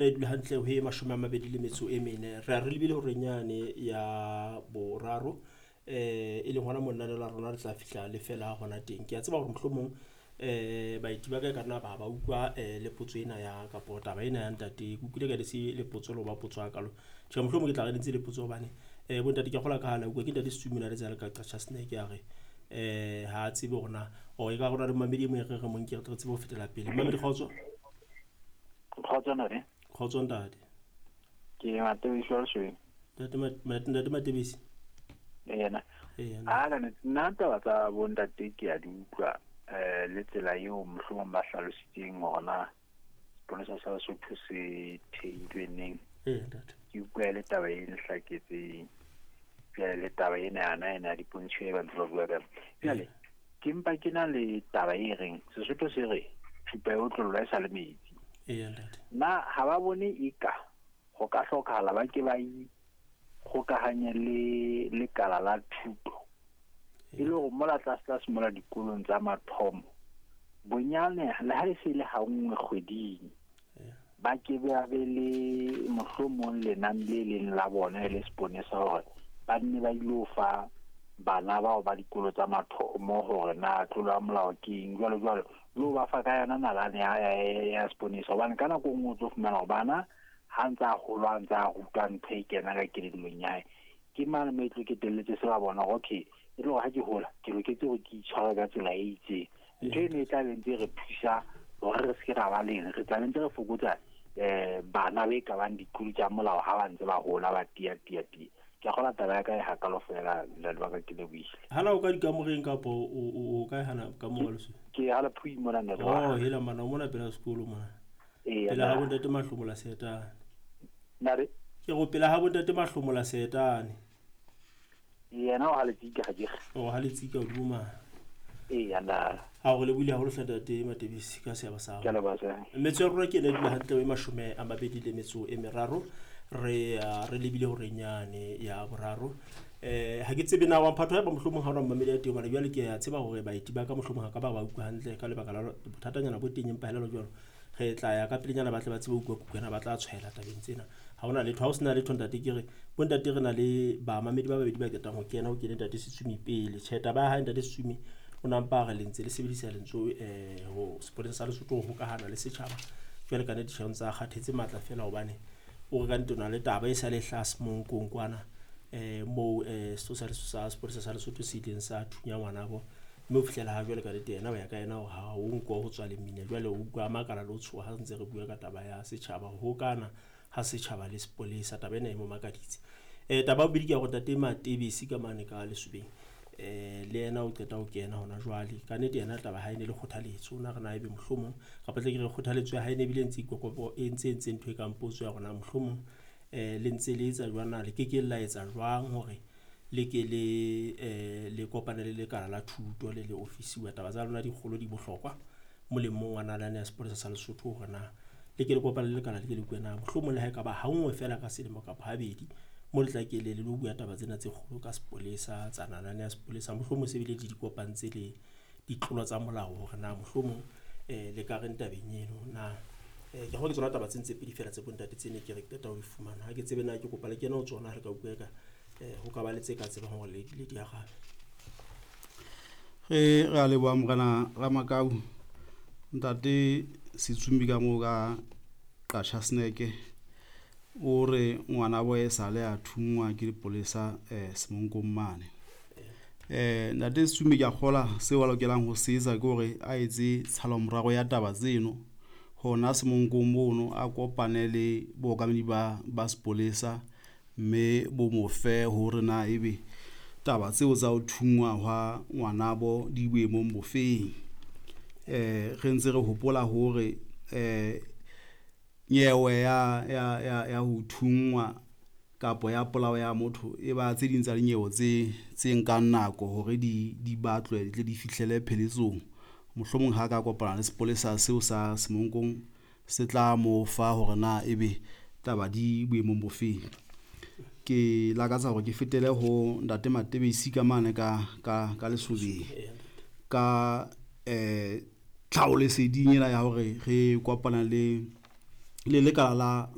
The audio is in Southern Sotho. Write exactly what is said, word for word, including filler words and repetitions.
E dula hantle ho e mashome a mabedi le metso e mene. Re a re lebile horeng yane ya boraro, eh e leng hona mo lenaneo la rona le tla fihla le fela hona teng. Ke a tseba hore mohlomong eh baeti ba ka e ka nna ba ba utlwa eh le potso ena ya kapo taba ena ya ntate. Ke utlwile ka le se le potso le ho ba potso hakalo. Tjhe, mohlomong ke tla re ntse le potso hobane eh bontate ke a kgolwa ka ha la utlwa ke ntate Setsomi o na le tsela ka Qachaseneke a re eh ha a tsebe hore na or e ka rona le momamedi e mong e re re mo nke re tle re tsebe ho fetela pele. Momamedi kgotso. Kgotso ntate. Kgotso ntate. Ke Matebisi wa Lesweng. Ntate Mat-, Ntate Matebisi. Yena. Ee, A ka nna taba tsa bontate ke a di utlwa eh le tsela eo mohlomong ba hlalositseng hore na seponesa sa Lesotho se theilwe neng. Ee, ntate. Ke utlwa le taba e nhlaketseng. Jwale le taba ena yana ena ya dipontsho e ba ntse ba bua ka yona. Jwale ke mpa ke na le taba e reng Sesotho se re thupa e otlollwa e sa le metsi. Ee, ntate. Na ha ba bone eka ho ka hlokahala ba ke ba ikgokahanye le lekala la thuto e le hore mola tlase tlase mola dikolong tsa mathomo bonyane le ha e se le ha nngwe kgweding ba ke ba be le mohlomong lenane le leng la bona le seponesa hore ba nne ba ilo fa bana bao ba dikolo tsa mathomo hore na tlolo ya molao ke eng jwalo jwalo, le ho ba fa ka yona nalane ya, ya, ya seponesa. Hobane ka nako e nngwe o tlo fumana hore bana ha ntse a hola, a ntse a rutwa ntho e kena ka kelellong ya hae, ke mane mo e tlo ketelletse se ba bona hore okay, e le hore ha ke hola ke loketse hore ke itshware ka tsela e itseng. Ntho eno e tla be ntse re thusa hore re se ke ra ba leng, re tla be ntse re fokotsa eh bana be ka bang ditlolo tsa molao ha ba ntse ba hola ba tia tia tia. Ke a kgolwa taba ya ka e hakalo fela, ntate wa ka, ke lebohile. Hana o ka dikamoreng kapo o, o, o kae hana ka moo Lesotho? Ke ha Lephui mona, ntate wa Oh, ka. hela mana, o mona pela sekolo mona. Ee, Pela ha nna. bontate Mahlomola Seetane. Nare? Ke go pela ha bontate Mahlomola Seetane. Yena o ha Letsika ha ke re. O ha Letsika hodimo mane. Ee, nna. Ha o re lebohile haholo hle ntate Matebisi ka seabo sa hao. Ke a leboha, sir. Metso ya rona ke ena e dula hantle e mashome a mabedi le metso e meraro. Re, ah, re lebile horeng yane ya boraro. Eh, ha ke tsebe na wa mphatho haeba mohlomong ha ona mmamedi ya teng, hobane jwale ke a tseba hore baeti ba ka mohlomong ha ka ba ba utlwa hantle ka lebaka la bothatanyana bo teng, empa hela jwalo. Re tla ya ka pelenyana ba tle ba tsebe ho utlwa kukwana, ba tla tshwaela tabeng tsena. Ha hona letho, ha ho sena letho ntate, ke re bontate re na le bamamedi ba babedi ba qetang ho kena, ho kene ntate Setsumi pele. Tjhe, taba ya hae ntate Setsumi o na mpa re le ntse le sebedisa lentswe eh ho sepolesa sa Lesotho ho hokahana le setjhaba. Jwale ka nnete tjhe, o ntse a kgathetse matla fela hobane o re ka nnete o na le taba e sa le hlaha Semonkong kwana, eh moo, eh, setho sa Lesotho sa sepolesa sa Lesotho se ileng sa thunya ngwanabo. Mme ho fihlela ha jwale ka nnete yena ho ya ka yena hore ha o nko ho tswa lemina. Jwale o utlwa a makala le ho tshoha ha ntse re bua ka taba ya setjhaba, ho hokana ha setjhaba le sepolesa. Taba ena e mo makaditse. Eh, taba ya bobedi ke ya hore ntate Matebisi ka mane ka Lesobeng, eh, le yena o qeta ho kena hona jwale. Ka nnete yena taba ha e ne le kgothaletso, o na re na ebe mohlomong kapa tle ke re kgothaletso ya hae ne ebile e ntse ikokopo, e ntse entse ntho e kang potso ya rona mohlomong, eh, le ntse le etsa jwang na, le ke ke la etsa jwang hore le ke le, eh, le kopane le lekala la thuto le le ofisi wa taba tsa lona dikgolo di bohlokwa molemong wa nalane ya sepolesa sa Lesotho hore na le ke le kopane le lekala le ke le bue na mohlomong le ha e ka ba ha nngwe fela ka selemo kapa habedi mo le tla ke le le lo bua taba tsena tse kgolo ka sepolesa tsa nalane ya sepolesa, mohlomong se bile le di kopantse le ditlolo tsa molao hore na mohlomong, eh, le ka reng tabeng eno na. Eh, ke hore ke tsona taba tse ntse pedi fela tse bontate tse ne ke re qeta ho di fumana. Ha ke tsebe na ke kopa le kene ho tsona, re ka utlwa eka, eh, ho ka ba le tse ka tsebang hore le, le di arabe. Re, re a leboha morena Ramakau. Ntate Setsumi ka moo ka Qachaseneke o re ngwana bo e sale a thunngwa ke dipolesa, eh, Semonkong mane. Eh, ntate Setsumi ke a kgola seo a lokelang ho se etsa ke hore a etse tshalomorao ya taba tseno hona Semonkong mono, a kopane le bookamedi ba, ba sepolesa mme bo mo fe hore na ebe taba tseo tsa ho thunngwa hwa ngwanabo di boemong bofeng. Eh, re ntse re hopola hore, eh, nyewe ya, ya, ya, ya ho thunngwa kapo ya polao ya motho e ba tse ding tsa dinyewe tse, tse nkang nako hore di, di batlwe di tle di fihlele pheletsong. Mohlomong ha ka kopana le sepolesa seo sa Semonkong se tla mo fa hore na ebe taba di boemong bofeng. Ke lakatsa hore ke fetele ho ntate Matebesi ka mane ka, ka, ka Lesobeng ka, eh, tlhaholeseding ena ya hore re kopana le, le lekala la